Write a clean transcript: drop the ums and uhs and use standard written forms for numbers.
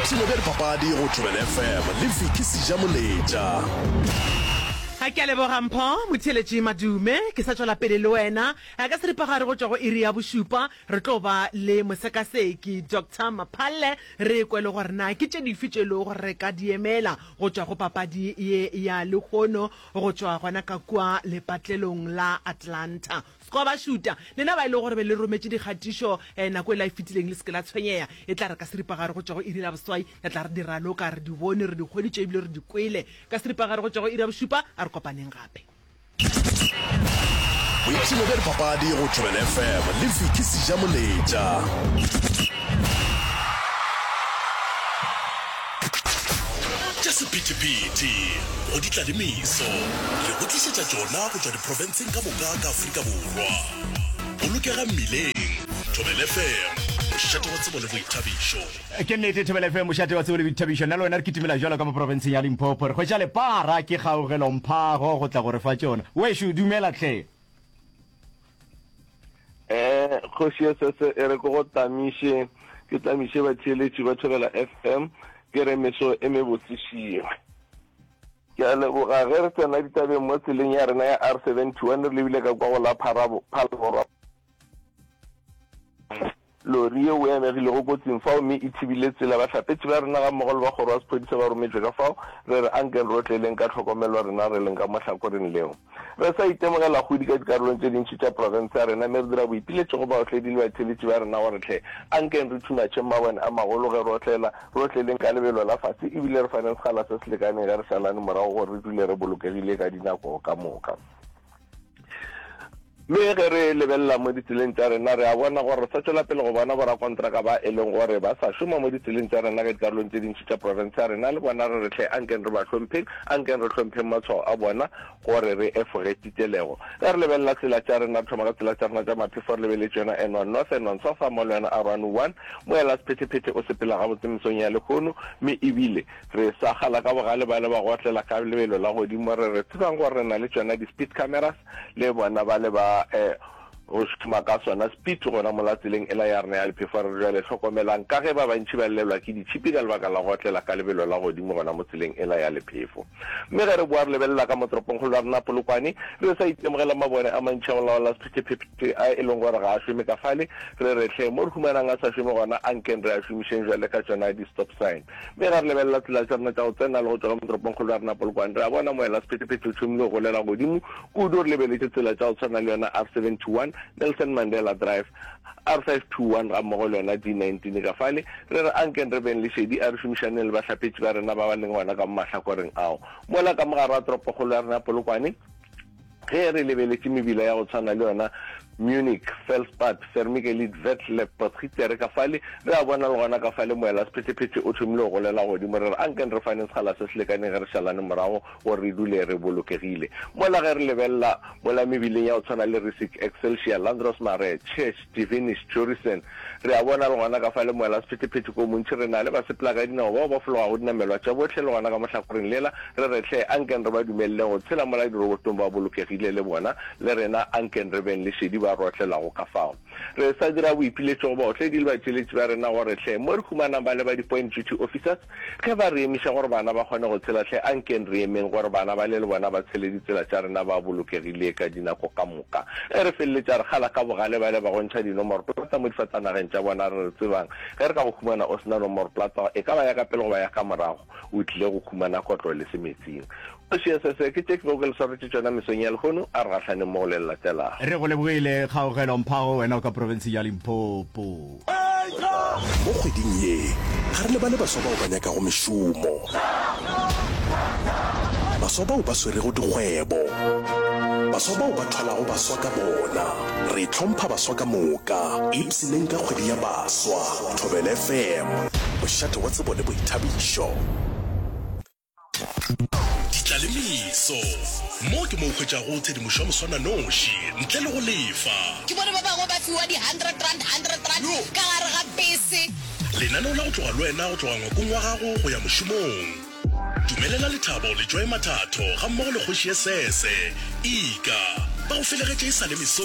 Boipshino bja dipapadi go Thobela FM le Vicky Sejamoletša. A ke a leboga Mpho Motheeletši Madume. Ke sa tšwela pele le wena ka seripagare go tšwa go iri ya bošupa. Re tlo ba le mosekaseki Doctor Maphalle re kwe le gore na ke tše dife tše e lego gore re ka di emela go tšwa go papadi ye ya lehono go tšwa gona ka kua lepatlelong la Atlanta. Squaw ba šuta. Lena ba e lego gore be le rometše dikgatišo nako e la e fetileng, le se ke la tshwenyega. E tla re ka seripagare go tšwa go iri la boswai, re tla re di raloka, re di bone, re di hweditše ebile re di kwele. Ka seripagare go tšwa go iri ya bošupa, a re kopaneng gape. Boipshino bja dipapadi go Thobela FM le Vicky Sejamoletša. Tša sephethephethe go di tla le meso. Re go tlišetša tšona go tšwa diprofenseng ka moka ka Afrika Borwa. Bolokega mmileng. Thobela FM, mošate wa tsebo le boithabišo. Ke nnete, Thobela FM, mošate wa tsebo le boithabišo. Nna le wena re kitimela bjalo ka mo profenseng ya Limpopo. Re hwetša lepara ke Kgaugelo Mphago go tla go re fa tšona. Wešo, dumela hle. Eh, kgoši ya sese e re ke go tamiše, ke tamiše batheeletši ba Thobela FM, ke re meso e mebotse šiwe. Ke a leboga ge re tsena ditabeng mo tseleng ya rena ya R71 re lebile ka kwa go la Phalaborwa. Lori yeo e amegilego kotsing fao mme e thibile tsela. Bahlapetši ba rena gammogo le ba kgoro ya sephodisa ba rometšwe ka fao. Re re ankeng re otleleng ka tlhokomelo rena re leng ka mo hlakoreng leo. Re sa itemogela kgodi ka dikarolong tše dintši tša profense ya rena mme re dira boipiletšo go baotledi le batheeletši ba rena gore hle ankeng re thumatšheng mabone a magolo ge re otlela, re otleleng ka lebelo la fase ebile re faneng sekgala se se lekaneng ge re šalane morago gore re dule re bolokegile ka dinako ka moka. Mme ge re lebelela mo ditseleng tša rena, re a bona gore re sa tšwela pele go bona borakontraka ba e leng gore ba sa šoma mo ditseleng tša rena ka dikarolong tše dintši tša profense ya rena. Le bona re re hle ankeng re ba hlompheng, ankeng re hlompheng matshwao a bona gore re efoge titelego. Ge re lebelela tsela tša rena, re thoma ka tsela tša rena tša maphefo re lebeletše yona N1 North, N1 South gammogo le yona R101. Moela sephethephethe o sepela gabotse mesong ya lehono, mme ebile Re sa kgala ka bogale bale ba go otlela ka lebelo la godimo, re re tsebang gore re na le tšona di-speed cameras le bona bale ba go šoma ka sona speed gona mola tseleng ela ya rena ya lephefo. Re re jwale hlokomelang ka ge ba bantši ba llelwa ke ditšhipi ka lebaka la go otlela ka lebelo la godimo gona mo tseleng ela ya lephefo. Mme ge re boa re lebelela ka mo toropongkgolo ya rena Polokwane, re sa itemogela mabone a mantši a go laola sephethephethe a e leng gore ga a šome ka fale. Re re hle mo re humanang a sa šome gona ankeng re a šomišeng jwale ka tšona di-stop sign. Mme ge re lebelela tsela tša rena tša go tsena le go tšwa ka mo toropongkgolo ya rena Polokwane, re a bona moela sephethephethe o thomile go golela godimo kudu. Re lebeletše tsela tša go tshwana le yona R71, Nelson Mandela Drive, R521 gammogo le yona D19 ka fale. Re re ankeng re beng le šedi, a re šomišaneng le bahlapetši ba rena ba ba leng gona ka mo mahlakoreng ao. Mola ka mo gare ga toropokgolo ya rena Polokwane, Ge re lebeletše mebila ya go tshwana le yona Munich, Felspad, Vermigelit, Vetle, Potgieter ka fale, re a bona le gona ka fale moela sephethephethe o thomile go golela godimo. Re re ankeng re faneng sekgala se se lekaneng ge re šalane morago gore re dule re bolokegile. Mola ge re lebelela mola mebileng ya go tshwana le Rissik, Excelsior, Landros Marais, Church, Divinish, Jorissen, re a bona le gona ka fale moela sephethephethe ko montši. Re na le basepelakadinao bao ba fologago dinamelwa tša bohle le gona ka mo hlakoreng lela. Re re, Hle, ankeng re ba dumeleleng go tshela mola dirobotong ba bolokegile le bona, le rena ankeng re beng le šedi ba re otlelago ka fao. Re sa dira boipiletšo go baotledi le batšweletši ba rena gore, hle, mo re humanang ba le ba di-point duty officers, ge ba re emiša gore bana ba kgone go tshela, hle, ankeng re emeng gore bana bale le bona ba tshele ditsela tša rena ba bolokegile ka dinako ka moka. Ge re feleletša re kgala ka bogale bale ba go ntšha dinomoroplata mo difatanageng tša bona, re re, Tsebang, ge re ka go humana o se na nomoroplata, e ka ba ya ka pele goba ya ka morago, O tlile go humana kotlo le semetsing. Kgoši ya Sese, ke tše ke bego ke le swaretše tšona mesong ya lehono, a re gahlaneng mo go le le latelago. Re go lebogile Kgaogelo Mphago, wena o ka profenseng ya Limpopo. Mo kgweding ye, ga re lebale baswa bao ba nyakago mešomo, baswa bao ba swerego dikgwebo, baswa bao ba thwalago baswa ka bona. Re hlompha baswa ka moka. Ipshineng ka kgwedi ya baswa. Thobela FM, mošate wa tsebo le boithabišo. Ditlalemeso, Mo ke mo o hwetšago tshedimošo ya moswananoši ntle le go lefa. Ke bone ba bangwe ba fiwa di R100, R100 ka gare ga bese. Lenaneo la go tloga le wena go tloga ngwakong wa gago go ya mošomong. Dumelela Lethabo le Joy Mathatho gammogo le Kgoši Esese, Ika, ba go felegetše e sa le mesong.